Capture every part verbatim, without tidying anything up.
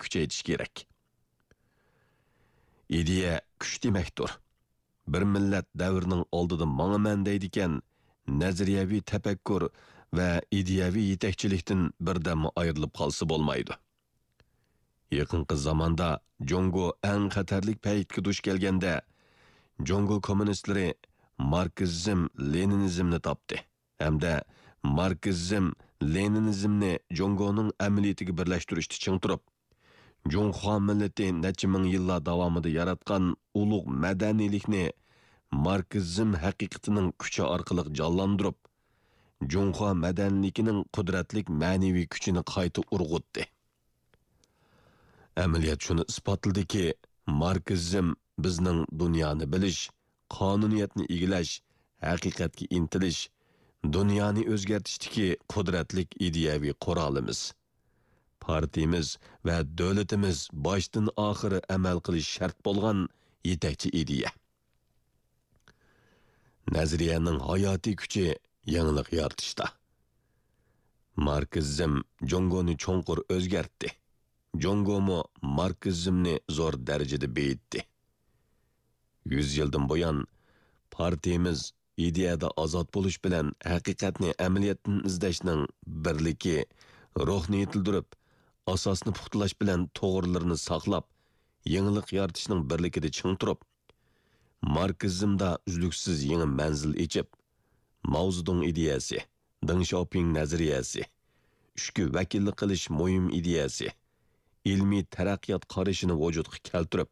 كۈچەيتىش كېرەك. ئىدىيە كۈچ دېمەكتۇر. بىر مىللەت دەۋرنىڭ ئالدىدا ماڭىمەن دەيدىكەن، نەزەرىيەۋى تەپەككۇر ۋە ئىدىيەۋى يېتەكچىلىكتىن بىردەممۇ ئايرىلىپ قالسا بولمايدۇ. يېقىنقى زاماندا جۇڭگو ئەڭ خەتەرلىك پەيتكە دۇچ كەلگەندە، جۇڭگو كوممۇنىستلىرى ماركسىزم، لېنىنىزمنى تاپتى ھەمدە ماركسىزم، لېنىنىزمنى جۇڭگونىڭ ئەمەلىيىتىگە بىرلەشتۈرۈشتە چىڭ تۇرۇپ، جۇڭخۇا مىللىتى نەچچە مىڭ يىللار داۋامىدا ياراتقان ئۇلۇغ مەدەنىيلىكنى ماركسىزم ھەقىقىتىنىڭ كۈچى ئارقىلىق جانلاندۇرۇپ، جۇڭخۇا مەدەنىيلىكىنىڭ قۇدرەتلىك مەنىۋى كۈچىنى قايتا ئۇرغۇتتى. ئەمەلىيەت شۇنى ئىسپاتلىدىكى، ماركسىزم بىزنىڭ دۇنيانى بىلىش، قانۇنىيەتنى ئىگىلەش، ھەقىقەتكە ئىنتىلىش، دۇنيانى ئۆزگەرتىشتىكى قۇدرەتلىك ئىدىيەۋى قورالىمىز. پارتىيىمىز ۋە دۆلىتىمىز باشتىن ئاخىر ئەمەل قىلىش شەرت بولغان يېتەكچى ئىدىيە. نەزەرىيەنىڭ ھاياتىي كۈچى يېڭىلىق يارىتىشتا. ماركسىزم جۇڭگونى چوڭقۇر ئۆزگەرتتى. جۇڭگومۇ ماركسىزمنى زور دەرىجىدە بېيىتتى. يۈز يىلدىن بۇيان، پارتىيىمىز ئىدىيەدە ئازاد بولۇش بىلەن ھەقىقەتنى ئەمەلىيەتتىن ئىزدەشنىڭ بىرلىكى، روھنى يېتىلدۈرۈپ، ئاساسنى پۇختىلاش بىلەن توغرىلىرىنى ساقلاپ، يېڭىلىق يارىتىشنىڭ بىرلىكىدە چىڭ تۇرۇپ، ماركسىزمدا ئۈزلۈكسىز يېڭى مەنزىل ئېچىپ، ماۋزېدۇڭ ئىدىيەسى، دېڭ شياۋپىڭ نەزەرىيەسى، ئۈچكە ۋەكىللىك قىلىش مۇھىم ئىدىيەسى، ئىلمىي تەرەققىيات قارىشىنى ۋۇجۇدقا كەلتۈرۈپ،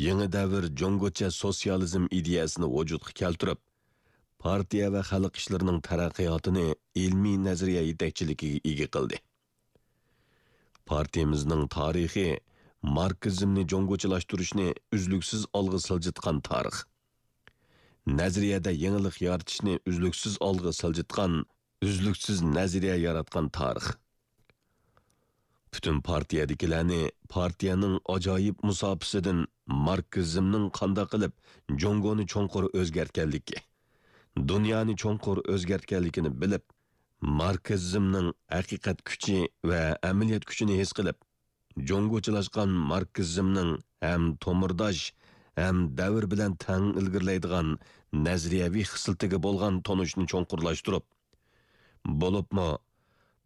يېڭى دەۋر جۇڭگوچە سوتسىيالىزم ئىدىيەسىنى ۋۇجۇدقا كەلتۈرۈپ، پارتىيە ۋە خەلق ئىشلىرىنىڭ تەرەققىياتىنى ئىلمىي نەزەرىيە يېتەكچىلىكىگە ئىگە قىلدى. پارتىيىمىزنىڭ تارىخى ماركسىزمنى جۇڭگوچىلاشتۇرۇشنى ئۈزلۈكسىز ئالغا سىلجىتقان تارىخ. نەزەرىيەدە يېڭىلىق يارىتىشنى ئۈزلۈكسىز ئالغا سىلجىتقان، ئۈزلۈكسىز نەزەرىيە ياراتقان تارىخ. پۈتۈن پارتىيەدىكىلەرنى پارتىيەنىڭ ئاجايىپ مۇساپىسىدىن ماركسىزمنىڭ قانداق قىلىپ جۇڭگونى چوڭقۇر ئۆزگەرتكەنلىكى، دۇنيانى چوڭقۇر ئۆزگەرتكەنلىكىنى بىلىپ، ماركسىزمنىڭ ھەقىقەت كۈچى ۋە ئەمەلىيەت كۈچىنى ھېس قىلىپ، جۇڭگوچىلاشقان ماركسىزمنىڭ ھەم تومۇرداش، ھەم دەۋر بىلەن تەڭ ئىلگىرىلەيدىغان نەزەرىيەۋى خىسلىتىگە بولغان تونۇشنى چوڭقۇرلاشتۇرۇپ، بولۇپمۇ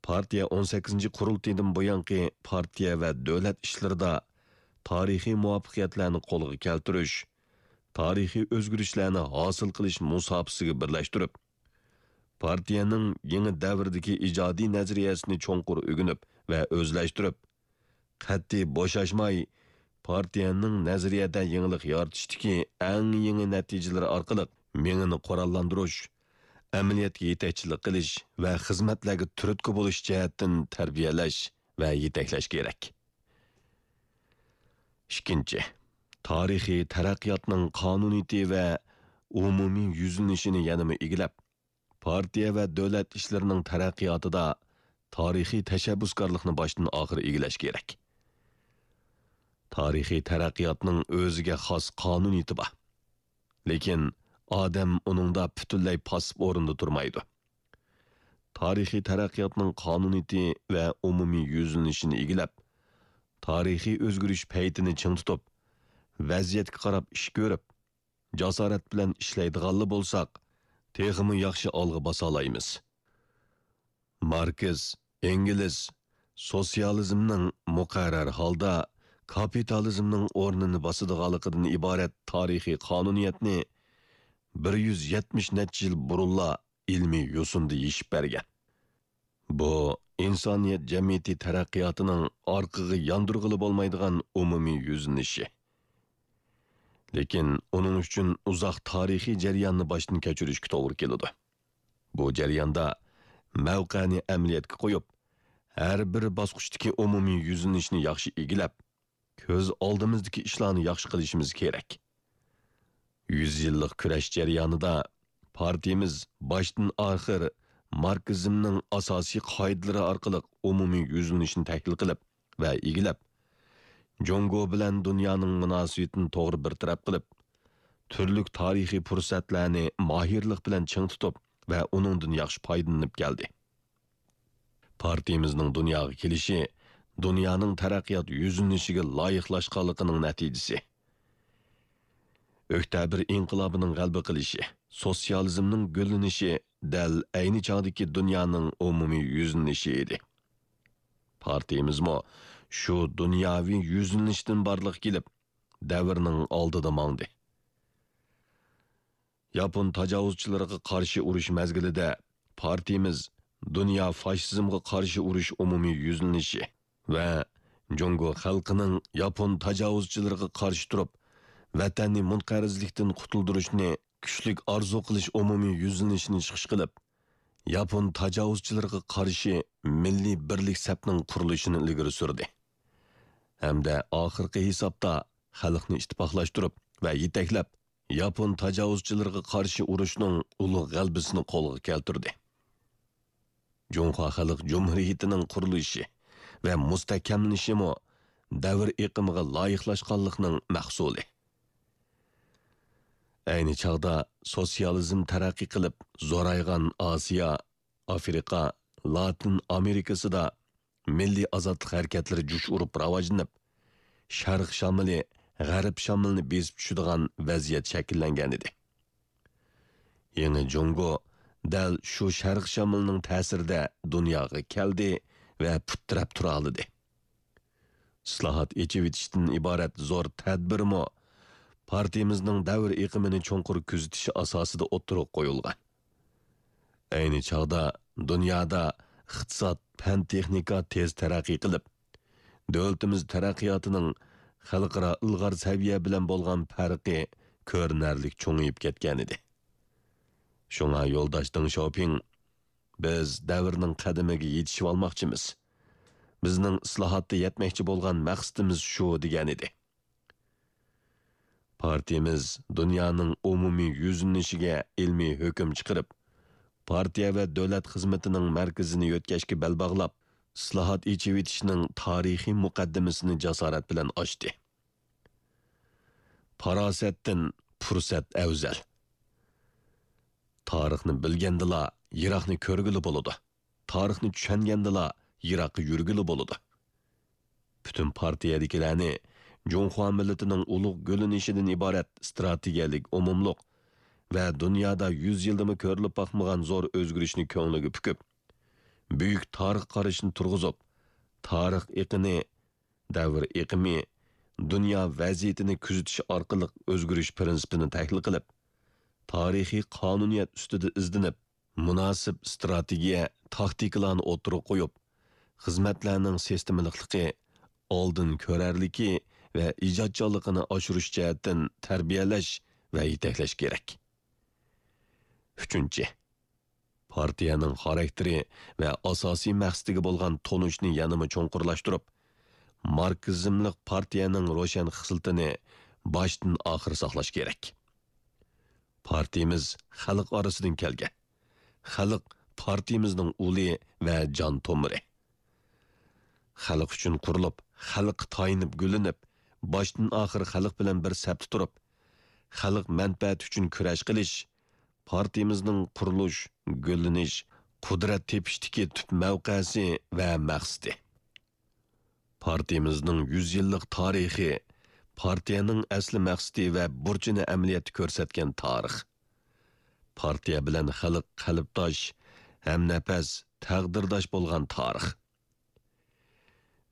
پارتىيە ئون سەككىزىنچى قۇرۇلتىيىدىن بۇيانقى پارتىيە ۋە دۆلەت ئىشلىرىدا تارىخىي مۇۋەپپەقىيەتلەرنى قولغا كەلتۈرۈش، تارىخىي ئۆزگىرىشلەرنى ھاسىل قىلىش مۇساپىسىگە بىرلەشتۈرۈپ، پارتىيەنىڭ يېڭى دەۋردىكى ئىجادىي نەزەرىيەسىنى چوڭقۇر ئۆگىنىپ ۋە ئۆزلەشتۈرۈپ، قەتئىي بوشاشماي، پارتىيەنىڭ نەزەرىيەدە يېڭىلىق يارىتىشتىكى ئەڭ يېڭى نەتىجىلىرى ئارقىلىق مېڭىنى قوراللاندۇرۇش، ئەمەلىيەتكە يېتەكچىلىك قىلىش ۋە خىزمەتلەرگە تۈرتكە بولۇش جەھەتتىن تەربىيەلەش ۋە يېتەكلەش كېرەك. ئىككىنچى، تارىخىي تەرەققىياتنىڭ قانۇنىيىتى ۋە ئومۇمىي يۈزلىنىشىنى يەنىمۇ ئىگىلەپ، پارتىيە ۋە دۆلەت ئىشلىرىنىڭ تەرەققىياتىدا تارىخىي تەشەببۇسكارلىقنى باشتىن ئاخىر ئىگىلەش كېرەك. تارىخىي تەرەققىياتنىڭ ئۆزىگە خاس قانۇنىيىتى بار. لېكىن ئادەم ئۇنىڭدا پۈتۈنلەي پاسسىپ ئورۇندا تۇرمايدۇ. تارىخىي تەرەققىياتنىڭ قانۇنىيىتى ۋە ئومۇمىي يۈزلىنىشىنى ئىگىلەپ، تارىخىي ئۆزگىرىش پەيتىنى چىڭ تۇتۇپ، ۋەزىيەتكە قاراپ ئىش كۆرۈپ، جاسارەت بىلەن ئىشلەيدىغانلا بولساق، تېخىمۇ ياخشى ئالغا باسالايمىز. ماركس، ئېنگېلس سوتسىيالىزمنىڭ مۇقەررەر ھالدا كاپىتالىزمنىڭ ئورنىنى باسىدىغانلىقىدىن ئىبارەت تارىخىي قانۇنىيەتنى بىر يۈز يەتمىش نەچچە يىل بۇرۇنلا ئىلمىي يوسۇندا يېشىپ بەرگەن. بۇ ئىنسانىيەت جەمئىيىتى تەرەققىياتىنىڭ ئارقىغا ياندۇرغىلى بولمايدىغان ئومۇمىي يۈزلىنىشى. لېكىن ئۇنىڭ ئۈچۈن ئۇزاق تارىخىي جەرياننى باشتىن كەچۈرۈشكە توغرا كېلىدۇ. بۇ جەرياندا مەۋقەنى ئەمەلىيەتكە قويۇپ، ھەر بىر باسقۇچتىكى ئومۇمىي يۈزلىنىشنى ياخشى ئىگىلەپ، كۆز ئالدىمىزدىكى ئىشلارنى ياخشى قىلىشىمىز كېرەك. يۈز يىللىق كۈرەش جەريانىدا پارتىيىمىز باشتىن ئاخىر ماركسىزمنىڭ ئاساسىي قائىدىلىرى ئارقىلىق ئومۇمىي يۈزلىنىشنى تەھلىل قىلىپ ۋە ئىگىلەپ، جۇڭگو بىلەن دۇنيانىڭ مۇناسىۋىتىنى توغرا بىر تەرەپ قىلىپ، تۈرلۈك تارىخىي پۇرسەتلەرنى ماھىرلىق بىلەن چىڭ تۇتۇپ ۋە ئۇنىڭدىن ياخشى پايدىلىنىپ كەلدى. پارتىيىمىزنىڭ دۇنياغا كېلىشى دۇنيانىڭ تەرەققىيات يۈزلىنىشىگە لايىقلاشقانلىقىنىڭ نەتىجىسى. ئۆكتەبىر ئىنقىلابىنىڭ غەلىبە قىلىشى، سوتسىيالىزمنىڭ گۈللىنىشى دەل ئەينى چاغدىكى دۇنيانىڭ ئومۇمىي يۈزلىنىشى ئىدى. پارتىيىمىزمۇ شۇ دۇنياۋى يۈزلىنىشتىن بارلىققا كېلىپ، دەۋرنىڭ ئالدىدا ماڭدى. ياپون تاجاۋۇزچىلىرىغا قارشى ئۇرۇش مەزگىلىدە پارتىيىمىز دۇنيا فاشىزمغا قارشى ئۇرۇش ئومۇمىي يۈزلىنىشى ۋە جۇڭگو خەلقىنىڭ ياپون تاجاۋۇزچىلىرىغا قارشى تۇرۇپ، ۋەتەننى مۇنقەرزلىكتىن قۇتۇلدۇرۇشنى كۈچلۈك ئارزۇ قىلىش ئومۇمىي يۈزلىنىشىنى چىقىش قىلىپ، ياپون تاجاۋۇزچىلىرىغا قارشى مىللىي بىرلىك سەپنىڭ قۇرۇلۇشىنى ئىلگىرى سۈردى ھەمدە ئاخىرقى ھېسابتا خەلقنى ئىتتىپاقلاشتۇرۇپ ۋە يېتەكلەپ، ياپون تاجاۋۇزچىلىرىغا قارشى ئۇرۇشنىڭ ئۇلۇغ غەلىبىسىنى قولغا كەلتۈردى. جۇڭخۇا خەلق جۇمھۇرىيىتىنىڭ قۇرۇلۇشى ۋە مۇستەھكەملىنىشىمۇ دەۋر ئېقىمىغا لايىقلاشقانلىقنىڭ مەھسۇلى. ئەينى چاغدا سوتسىيالىزم تەرەققىي قىلىپ، زورايغان ئاسىيا، ئافرىقا، لاتىن ئامېرىكىسىدا مىللىي ئازادلىق ھەرىكەتلىرى جۇش ئۇرۇپ راۋاجلىنىپ، شەرق شامىلى غەرب شامىلىنى بېسىپ چۈشىدىغان ۋەزىيەت شەكىللەنگەنىدى. يېڭى جۇڭگو دەل شۇ شەرق شامىلىنىڭ تەسىرىدە دۇنياغا كەلدى ۋە پۇت تىرەپ تۇرالىدى. ئىسلاھات، ئېچىۋېتىشتىن ئىبارەت زور تەدبىرمۇ پارتىيىمىزنىڭ دەۋر ئېقىمىنى چوڭقۇر كۆزىتىش ئاساسىدا ئوتتۇرىغا قويۇلغان. ئەينى چاغدا دۇنيادا ئىقتىساد، پەن-تېخنىكا تېز تەرەققىي قىلىپ، دۆلىتىمىز تەرەققىياتىنىڭ خەلقئارا ئىلغار سەۋىيە بىلەن بولغان پەرقى كۆرۈنەرلىك چوڭىيىپ كەتكەنىدى. شۇڭا يولداش دېڭ شياۋپىڭ، «بىز دەۋرنىڭ قەدىمىگە يېتىشىۋالماقچىمىز. بىزنىڭ ئىسلاھاتتا يەتمەكچى بولغان مەقسىتىمىز شۇ» دېگەنىدى. پارتىيىمىز دۇنيانىڭ ئومۇمىي يۈزلىنىشىگە ئىلمىي ھۆكۈم چىقىرىپ، پارتىيە ۋە دۆلەت خىزمىتىنىڭ مەركىزىنى يۆتكەشكە بەل باغلاپ، ئىسلاھات، ئېچىۋېتىشنىڭ تارىخىي مۇقەددىمىسىنى جاسارەت بىلەن ئاچتى. پاراسەتتىن پۇرسەت ئەۋزەل. تارىخنى بىلگەندىلا، يىراقنى كۆرگىلى بولىدۇ. تارىخنى چۈشەنگەندىلا، يىراققا يۈرگىلى بولىدۇ. پۈتۈن پارتىيەدىكىلەرنى جۇڭخۇا مىللىتىنىڭ ئۇلۇغ گۈللىنىشىدىن ئىبارەت ئىستراتېگىيەلىك ئومۇملۇق ۋە دۇنيادا يۈز يىلدىمۇ كۆرۈلۈپ باقمىغان زور ئۆزگىرىشنى كۆڭلىگە پۈكۈپ، بۈيۈك تارىخ قارىشىنى تۇرغۇزۇپ، تارىخ ئېقىنى، دەۋر ئېقىمى، دۇنيا ۋەزىيىتىنى كۆزىتىش ئارقىلىق ئۆزگىرىش پىرىنسىپىنى تەھلىل قىلىپ، تارىخىي قانۇنىيەت ئۈستىدە ئىزدىنىپ، مۇناسىپ ئىستراتېگىيە، تاكتىكىلارنى ئوتتۇرىغا قويۇپ، خىزمەتلەرنىڭ سىستېمىلىقلىقى، ئالدىن كۆرەرلىكى ۋە ئىجادچانلىقىنى ئاشۇرۇش جەھەتتىن تەربىيەلەش ۋە يېتەكلەش كېرەك. ئۈچىنچى، پارتىيەنىڭ خاراكتېرى ۋە ئاساسىي مەقسىتىگە بولغان تونۇشنى يەنىمۇ چوڭقۇرلاشتۇرۇپ، ماركسىزملىق پارتىيەنىڭ روشەن خىسلىتىنى باشتىن ئاخىر ساقلاش كېرەك. پارتىيىمىز خەلق ئارىسىدىن كەلگەن. خەلق پارتىيىمىزنىڭ ئۇلى ۋە جان تومۇرى. خەلق ئۈچۈن قۇرۇلۇپ، خەلققە تايىنىپ گۈللىنىپ، باشتىن ئاخىر خەلق بىلەن بىر سەپتە تۇرۇپ، خەلق مەنپەئەتى ئۈچۈن كۈرەش قىلىش پارتىيىمىزنىڭ قۇرۇلۇش، گۈللىنىش، قۇدرەت تېپىشتىكى تۈپ مەۋقەسى ۋە مەقسىتى. پارتىيىمىزنىڭ يۈز يىللىق تارىخى پارتىيەنىڭ ئەسلى مەقسىتى ۋە بۇرچىنى ئەمەلىيەتتە كۆرسەتكەن تارىخ. پارتىيە بىلەن خەلق قەلبداش، ھەمنەپەس، تەقدىرداش بولغان تارىخ.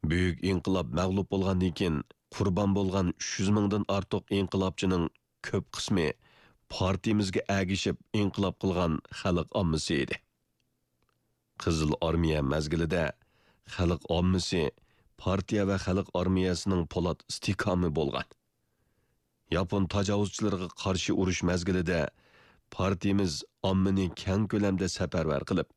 بۈيۈك ئىنقىلاب مەغلۇپ بولغاندىن كېيىن، قۇربان بولغان ئۈچ يۈز مىڭدىن ئارتۇق ئىنقىلابچىنىڭ كۆپ قىسمى پارتىيىمىزگە ئەگىشىپ ئىنقىلاب قىلغان خەلق ئاممىسى ئىدى. قىزىل ئارمىيە مەزگىلىدە خەلق ئاممىسى پارتىيە ۋە خەلق ئارمىيەسىنىڭ پولات ئىستىھكامى بولغان. ياپون تاجاۋۇزچىلىرىغا قارشى ئۇرۇش مەزگىلىدە پارتىيىمىز ئاممىنى كەڭ كۆلەمدە سەپەرۋەر قىلىپ،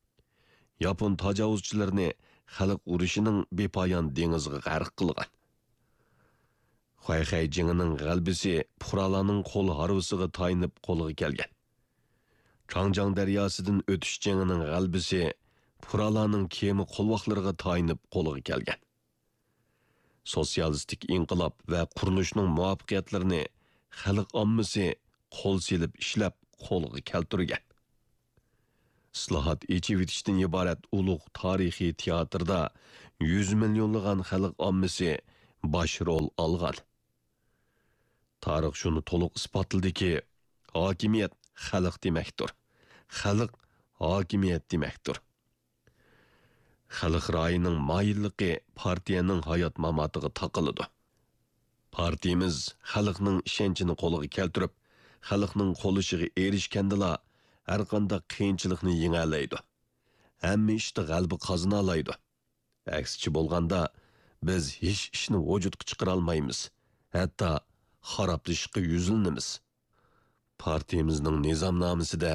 ياپون تاجاۋۇزچىلىرىنى خەلق ئۇرۇشىنىڭ بىپايان دېڭىزىغا غەرق قىلغان. خۇەيخەي جېڭىنىڭ غەلىبىسى پۇقرالارنىڭ قول ھارۋىسىغا تايىنىپ قولغا كەلگەن. چاڭجياڭ دەرياسىدىن ئۆتۈش جېڭىنىڭ غەلىبىسى پۇقرالارنىڭ كېمە قولۋاقلىرىغا تايىنىپ قولغا كەلگەن. سوتسىيالىستىك ئىنقىلاب ۋە قۇرۇلۇشنىڭ مۇۋەپپەقىيەتلىرىنى خەلق ئاممىسى قول سېلىپ ئىشلەپ قولغا كەلتۈرگەن. ئىسلاھات، ئېچىۋېتىشتىن ئىبارەت ئۇلۇغ تارىخىي تىياتىردا يۈز مىليونلىغان خەلق ئاممىسى باش رول ئالغان. تارىخ شۇنى تولۇق ئىسپاتلىدىكى، ھاكىمىيەت خەلق دېمەكتۇر. خەلق ھاكىمىيەت دېمەكتۇر. خەلق رايىنىڭ مايىللىقى پارتىيەنىڭ ھايات-ماماتىغا تاقىلىدۇ. پارتىيىمىز خەلقنىڭ ئىشەنچىنى قولغا كەلتۈرۈپ، خەلقنىڭ قوللىشىغا ئېرىشكەندىلا، ھەرقانداق قىيىنچىلىقنى يېڭەلەيدۇ. ھەممە ئىشتا غەلىبە قازىنالايدۇ. ئەكسىچە بولغاندا، بىز ھېچ ئىشنى ۋۇجۇدقا چىقىرالمايمىز، ھەتتا خارابلىشىشقا يۈزلىنىمىز. پارتىيىمىزنىڭ نىزامنامىسىدە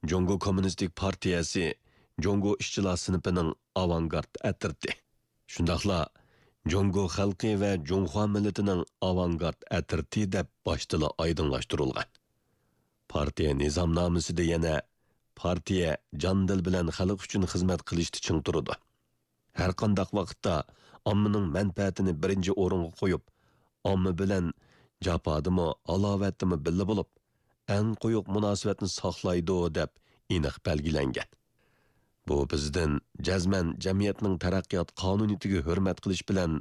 جۇڭگو كوممۇنىستىك پارتىيەسى جۇڭگو ئىشچىلار سىنىپىنىڭ ئاۋانگارت ئەترىتى، شۇنداقلا جۇڭگو خەلقى ۋە جۇڭخۇا مىللىتىنىڭ ئاۋانگارت ئەترىتى دەپ باشتىلا ئايدىڭلاشتۇرۇلغان. پارتىيە نىزامنامىسىدە يەنە پارتىيە جان-دىل بىلەن خەلق ئۈچۈن خىزمەت قىلىشتا چىڭ تۇرىدۇ. ھەرقانداق ۋاقىتتا ئاممىنىڭ مەنپەئەتىنى بىرىنچى ئورۇنغا قويۇپ، ئامما بىلەن جاپادىمۇ، ھالاۋەتتىمۇ بىللە بولۇپ، ئەڭ قويۇق مۇناسىۋەتنى ساقلايدۇ، دەپ ئېنىق بەلگىلەنگەن. بۇ بىزدىن جەزمەن جەمئىيەتنىڭ تەرەققىيات قانۇنىيىتىگە ھۆرمەت قىلىش بىلەن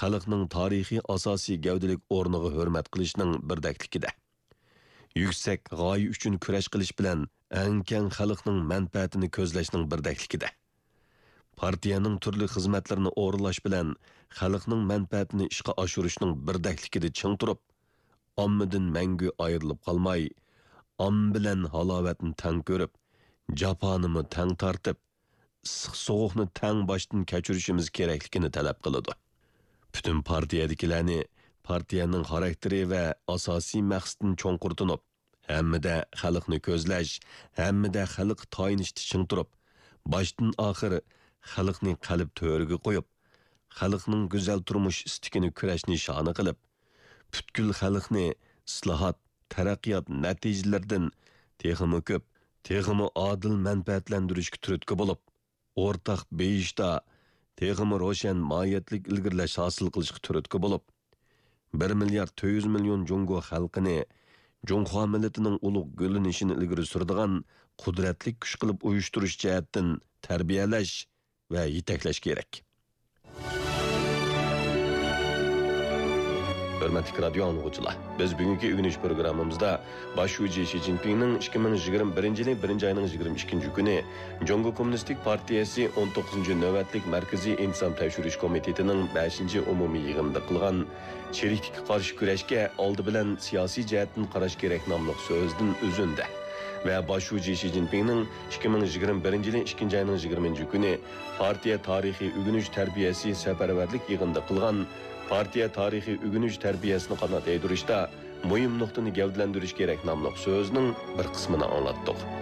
خەلقنىڭ تارىخىي ئاساسىي گەۋدىلىك ئورنىغا ھۆرمەت قىلىشنىڭ بىردەكلىكىدە، يۈكسەك غايە ئۈچۈن كۈرەش قىلىش بىلەن ئەڭ كەڭ خەلقنىڭ مەنپەئەتىنى كۆزلەشنىڭ بىردەكلىكىدە، پارتىيەنىڭ تۈرلۈك خىزمەتلىرىنى ئورۇنلاش بىلەن خەلقنىڭ مەنپەئەتىنى ئىشقا ئاشۇرۇشنىڭ بىردەكلىكىدە چىڭ تۇرۇپ، ئاممىدىن مەڭگۈ ئايرىلىپ قالماي، ئامما بىلەن ھالاۋەتنى تەڭ كۆرۈپ، جاپانىمۇ تەڭ تارتىپ، ئىسسىق-سوغۇقنى تەڭ باشتىن كەچۈرۈشىمىز كېرەكلىكىنى تەلەپ قىلىدۇ. پۈتۈن پارتىيەدىكىلەرنى پارتىيەنىڭ خاراكتېرى ۋە ئاساسىي مەقسىتىنى چوڭقۇر تونۇپ، ھەممىدە خەلقنى كۆزلەش، ھەممىدە خەلققە تايىنىشتا چىڭ تۇرۇپ، باشتىن ئاخىر خەلقنى قەلب تۆرىگە قويۇپ، خەلقنىڭ گۈزەل تۇرمۇش ئىستىكىنى كۈرەش نىشانى قىلىپ، پۈتكۈل خەلقنى ئىسلاھات، تەرەققىيات نەتىجىلىرىدىن تېخىمۇ كۆپ، تېخىمۇ ئادىل مەنپەئەتلەندۈرۈشكە تۈرتكە بولۇپ، ئورتاق بېيىشتا تېخىمۇ روشەن ماھىيەتلىك ئىلگىرىلەش ھاسىل قىلىشقا تۈرتكە بولۇپ، بىر مىليارد تۆت يۈز مىليون جۇڭگو خەلقىنى جۇڭخۇا مىللىتىنىڭ ئۇلۇغ گۈللىنىشىنى ئىلگىرى سۈرىدىغان قۇدرەتلىك كۈچ قىلىپ ئۇيۇشتۇرۇش جەھەتتىن تەربىيەلەش ۋە يېتەكلەش كېرەك. ھۆرمەتلىك رادىيو ئاڭلىغۇچىلار، بىز بۈگۈنكى ئۆگىنىش پروگراممىمىزدا باش شۇجى شى جىنپىڭنىڭ ئىككى مىڭ يىگىرمە بىرىنچى يىلى بىرىنچى ئاينىڭ يىگىرمە ئىككىنچى كۈنى جۇڭگو كوممۇنىستىك پارتىيەسى ئون توققۇزىنچى نۆۋەتلىك مەركىزىي ئىنتىزام تەكشۈرۈش كومىتېتىنىڭ بەشىنچى ئومۇمىي يىغىنىدا قىلغان چىرىكلىككە قارشى كۈرەشكە ئالدى بىلەن سىياسىي جەھەتتىن قاراش كېرەك ناملىق سۆزىدىن ئۈزۈندە ۋە باش شۇجى شى جىنپىڭنىڭ ئىككى مىڭ يىگىرمە بىرىنچى يىلى ئىككىنچى ئاينىڭ يىگىرمىنچى كۈنى پارتىيە تارىخىي ئۆگىنىش تەربىيەسى سەپەرۋەرلىك يىغىنىدا قىلغان پارتىيە تارىخىي ئۆگىنىش تەربىيەسىنى قانات يايدۇرۇشتا مۇھىم نۇقتىنى گەۋدىلەندۈرۈش كېرەك ناملىق سۆزىنىڭ بىر قىسمىنى ئاڭلاتتۇق.